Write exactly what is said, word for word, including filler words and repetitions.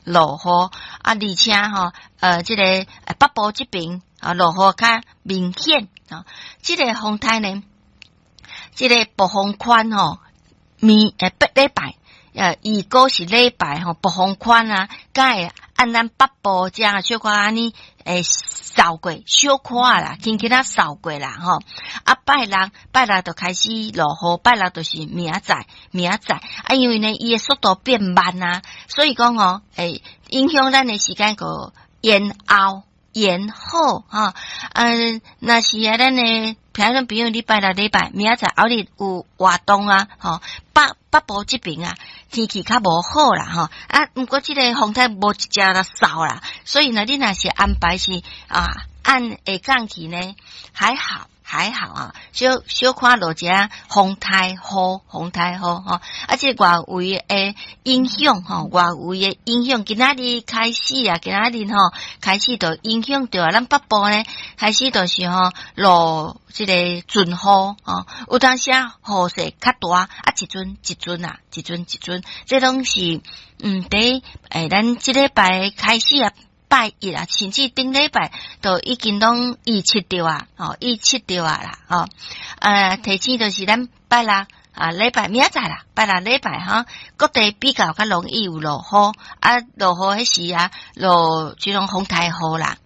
落雨啊，而且吼，呃，這個北部這邊啊，落雨較明顯啊。這個風颱呢，這個暴風圈吼，明呃八禮拜，呃，預估是禮拜吼，暴風圈啊，才會按咱北部遮小可按呢會掃過，小可啦，輕輕仔掃過啦吼。啊，拜六拜六就開始落雨，拜六就是明仔載，明仔載啊，因為呢，伊的速度變慢啊，所以講吼，會影響咱的時間閣延後延後吼。嗯，若是啊，咱的譬如比如禮拜六禮拜明仔載後日有活動啊，吼，北北部這邊啊，天氣較無好啦，吼啊，毋過這個風颱無直接來掃啦，所以呢，你若是安排是啊，按下降去呢，還好還好啊，小小看落一下風颱雨，風颱雨吼，啊，這個外圍的影響吼，外圍的影響，今仔日開始啊，今仔日吼開始就影響著啊，咱北部呢開始就是吼落這個陣雨吼，有當時啊雨勢較大，啊一陣一陣啊，一陣一陣，這攏是嗯，佇欸咱這禮拜開始啊。拜一啊，甚至頂禮拜都已經攏預測著啊，吼，預測著啊啦，吼，呃，提醒就是咱拜六啊，禮拜明仔載啦，拜六禮拜吼，各地比較較容易有落雨，啊，落雨彼時啊，落這種風颱雨啦。